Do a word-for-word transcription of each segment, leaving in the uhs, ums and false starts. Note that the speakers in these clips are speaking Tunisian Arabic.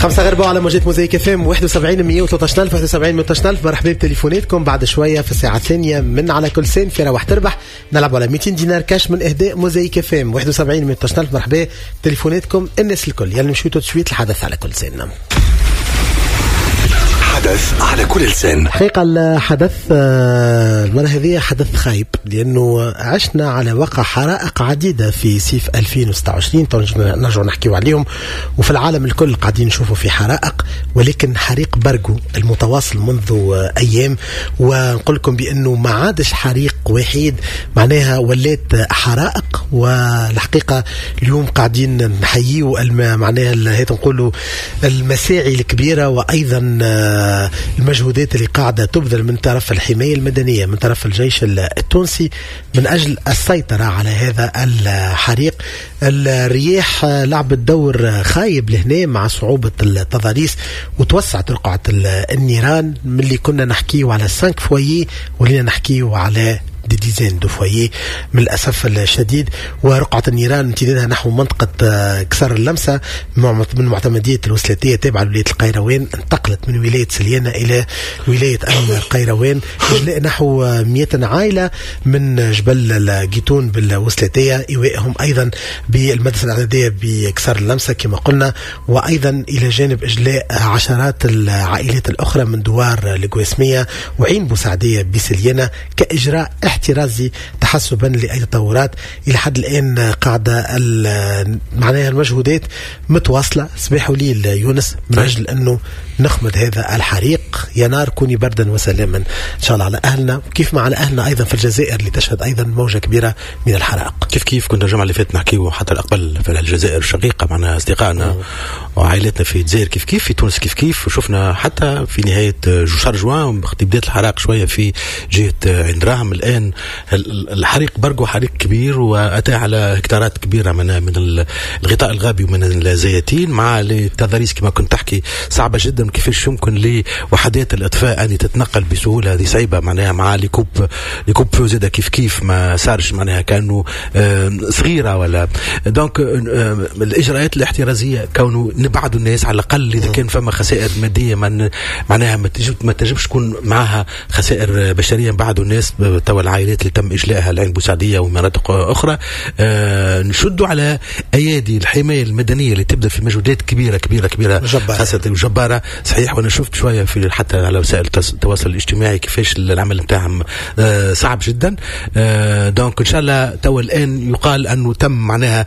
خمسة غير ربع على موجات موزايك اف ام واحد وسبعين مية وثلاثة عشر ألف، واحد وسبعين مية وثلاثة عشر ألف. مرحبا بتليفوناتكم بعد شوية في الساعة الثانية من على كل لسان في روح تربح، نلعب على ميتين دينار كاش من اهداء موزايك اف ام، واحد وسبعين مية وثلاثة عشر ألف. مرحبا تليفوناتكم الناس الكل. يلا نمشيو tout de suite الحدث على كل لسان. حدث على كل لسان. حقيقة الحدث آه، المرة هذه حدث خايب، لأنه عشنا على وقع حرائق عديدة في صيف ألفين وستة وعشرين، نرجع نحكيو عليهم، وفي العالم الكل قاعدين نشوفوا في حرائق، ولكن حريق برقو المتواصل منذ أيام، ونقول لكم بأنه ما عادش حريق وحيد، معناها ولات حرائق. والحقيقة اليوم قاعدين نحييو معناها هي نقولوا المساعي الكبيرة وأيضا آه، المجهودات اللي قاعدة تبذل من طرف الحماية المدنية، من طرف الجيش التونسي، من أجل السيطرة على هذا الحريق. الرياح لعبت دور خايب لهنا مع صعوبة التضاريس وتوسعت رقعة النيران. من اللي كنا نحكيو على cinq foyers ولينا نحكيو على des dizaines de foyers من الاسف الشديد. ورقعه النيران امتدادها نحو منطقة آه، قصر اللمسة من معتمديه الوسلاتيه تابعه لولاية القيروان، انتقلت من ولاية سليانه الى ولاية القيروان. اجلاء نحو مئة عائلة من جبل القيتون بالوسلاتيه، ايوائهم ايضا بالمدرسة الاعدادية بقصر اللمسة كما قلنا، وايضا الى جانب اجلاء عشرات العائلات الاخرى من دوار القواسميه وعين بوسعديه بسليانه كاجراء احترازي تحسبا لاي تطورات. الى حد الان قاعدة معناها المجهودات متواصلة صباح وليل يونس من اجل انه نخمد هذا الحريق. يا نار كوني بردا وسلاما ان شاء الله على اهلنا، كيف ما على اهلنا ايضا في الجزائر اللي تشهد ايضا موجه كبيرة من الحرائق. كيف كيف، كنا الجمعة اللي فاتت نحكيو حتى قبل في الجزائر الشقيقه، معنا اصدقائنا وعائلتنا في الجزائر كيف كيف، في تونس كيف كيف، وشفنا حتى في نهاية شهر جوان بدات الحرائق شوية في جهة عين دراهم. الان الحريق برقو حريق كبير واتى على هكتارات كبيرة من من الغطاء الغابي ومن الزياتين، مع التضاريس كما كنت تحكي صعبة جدا. كيفاش يمكن لوحدات الاطفاء ان تتنقل بسهوله؟ هذه صعيبة معناها، مع les coupes les coupe-feu زاده كيف كيف ما صارش، معناها كانه صغيرة ولا. donc الاجراءات الاحترازية كونه نبعدوا الناس على الاقل، اذا كان فما خسائر مادية من معناها ما تجب ما تجبش تكون معها خسائر بشريه. نبعدوا الناس توا، العائلات اللي تم اجلائها لعين بوسعديه ومناطق اخرى، آه نشدوا على ايادي الحماية المدنية اللي تبدا في مجهودات كبيرة كبيرة كبيره، خاصة جبارة صحيح. وانا شفت شوية في حتى على وسائل التواصل الاجتماعي كيفاش العمل نتاعهم آه صعب جدا. آه donc ان شاء الله تو الان يقال انه تم معناها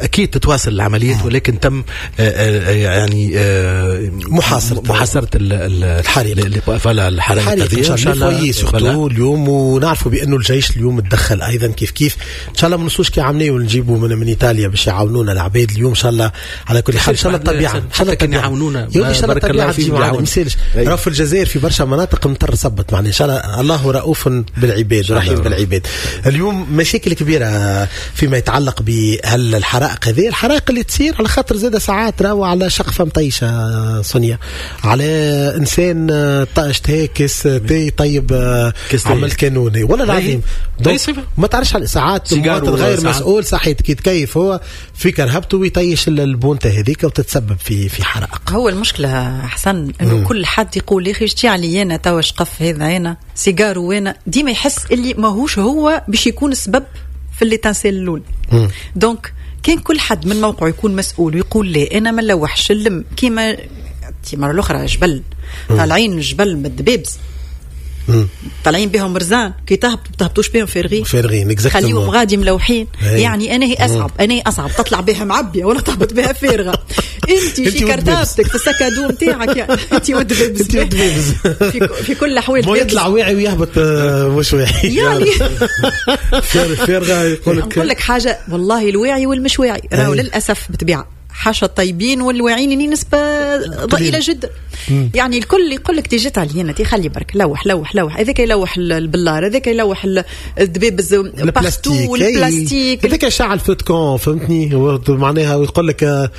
اكيد تتواصل العمليات، ولكن تم آه، آه، يعني آه، محاصرة محاصرة الحريق. voilà، الحرائق. ان شاء الله surtout اليوم، ونعرفوا بانه الجيش اليوم تدخل ايضا كيف كيف. ان شاء الله ما نوصلوش كي عملنا ونجيبوا من, من ايطاليا باش يعاونونا العباد اليوم. ان شاء الله على كل حال ان شاء الله الطبيعه، ان شاء الله كان يعاونونا. ان شاء الله الطبيعة تجي معنا، ما يسالش. راه في الجزائر في برشا مناطق مطر صبت، معناها ان شاء الله الله رؤوف بالعباد ورحيم بالعباد. اليوم مشاكل كبيرة فيما يتعلق بهالحرائق هذه، الحرائق اللي تصير على خاطر زاد ساعات راهو على شقفة مطيشه سونيا، على انسان اشتهى كاس تاي طيب عمل كانوني ولا العظيم، ما تعرفش ساعات مواطن غير مسؤول صحيح كي يتكيف هو في كرهبته ويطيش البونته هذيك وتتسبب في في حرائق. هو المشكلة حسن انه كل حد يقول يا اخي اشتي علي انا توا شقف هذا، انا سيجار، وانا ديما يحس اللي ماهوش هو باش يكون السبب في l'étincelle الاول. donc كان كل حد من موقعه يكون مسؤول ويقول لا انا ما نلوحش اللم، كيما المرة الاخرى جبل طالعين الجبل من الدبابز طالعين بهم رزان، كي تهبطوا تهبطوش بهم فارغين. فارغين. خليهم غادي ملوحين. يعني انا هي اصعب انا هي اصعب تطلع بها معبيه ولا تهبط بها فارغه؟ انت في كرتابتك في ال sac à dos نتاعك، يعني انت والدبابز. انت والدبابز. في, في كل الاحوال. يطلع واعي ويهبط آه، مش واعي. يعني فارغة يقول لك. نقول لك حاجه، والله الواعي والمش واعي راهو للاسف بطبيعة حاشا الطيبين والواعيين يعني نسبة ضئيلة جدا. مم. يعني الكل يقول لك تيجي علينا تي خلي برك لوح لوح لوح، هذاك يلوح البلار، هذاك يلوح الدبابز البلاستيك، والبلاستيك. هذاك شعل feu de camp، فهمتني؟ معناها ويقول لك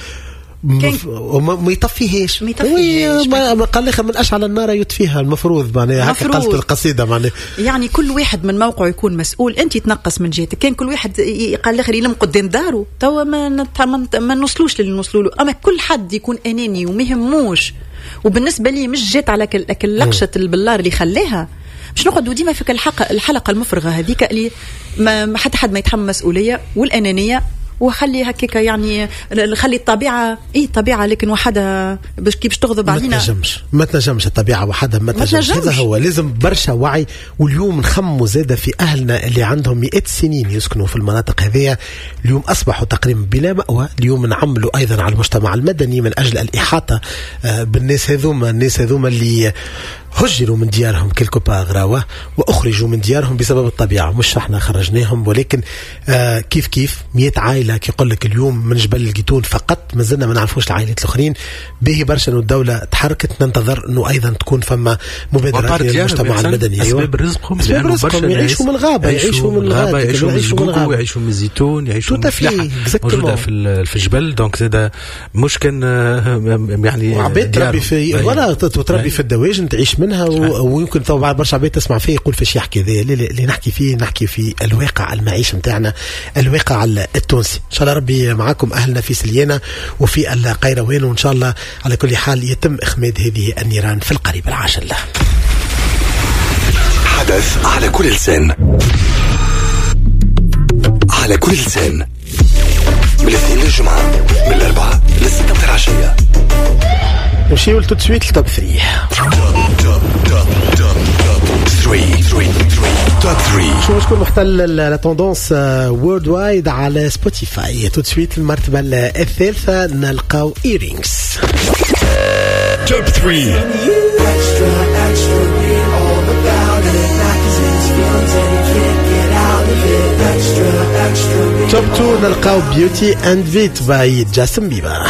وما يطفيهاش. ما يطفيهاش. ما قال الاخر من اشعل النار يطفيها، المفروض معناها هكا قالت القصيدة معناها. يعني كل واحد من موقعه يكون مسؤول، انت تنقص من جهتك. كان كل واحد قال الاخر يلم قدام داره توا ما ما نوصلوش للي نوصلوا له، اما كل حد يكون اناني وما يهموش. وبالنسبة لي مش جات على كل لقشه البلار اللي خلاها، باش نقعدوا ديما في الحلقة الحلقة المفرغه هذيك اللي ما حتى حد ما يتحمل مسؤولية والانانيه، وخلي هكاك يعني خلي الطبيعة اي طبيعة لكن وحدها باش كيفاش تغضب علينا. ما تنجمش ما تنجمش الطبيعة وحدها، ما تنجمش. هذا هو، لازم برشا وعي. واليوم نخموا زاده في اهلنا اللي عندهم مئات السنين يسكنوا في المناطق هذيا، اليوم اصبحوا تقريبا بلا مأوى. اليوم نعملوا ايضا على المجتمع المدني من اجل الاحاطة بالناس هذوما، الناس هذوما اللي هجروا من ديارهم quelque part راوه واخرجوا من ديارهم بسبب الطبيعة، مش احنا خرجناهم، ولكن آه كيف كيف مئة عائلة كي يقول لك اليوم من جبل القيتون فقط، مازلنا ما نعرفوش العائلات الاخرين. به برشا انه الدولة تحركت، ننتظر انه ايضا تكون فما مبادرات للمجتمع المدني. اسباب رزقهم، اسباب رزقهم، يعيشوا من الغابة، يعيشوا من الغابة، يعيشوا من الغابة، يعيشوا من الزيتون، يعيشوا من الفلاحة موجودة في في الجبل. donc زاد مش كان يعني وعباد تربي في ولا تربي في الدواجن تعيش منها. ويمكن طبعا برشا عباد تسمع فيه يقول فاش يحكي ذا، اللي نحكي فيه نحكي في الواقع المعيش نتاعنا، الواقع التونسي. ان شاء الله ربي معاكم اهلنا في سليانه وفي القيروان، وان شاء الله على كل حال يتم اخماد هذه النيران في القريب العاجل. حدث على كل لسان، على كل لسان، من الاثنين للجمعة، من الاربعاء للستة متاع العشية. نمشيو tout de suite ل top ثلاثة. top ثلاثة. شو شكون محتل la tendance worldwide على Spotify؟ tout de suite المرتبة الثالثة نلقاو Earrings. top ثلاثة. top اثنين نلقاو Beauty and Beat by Justin Bieber.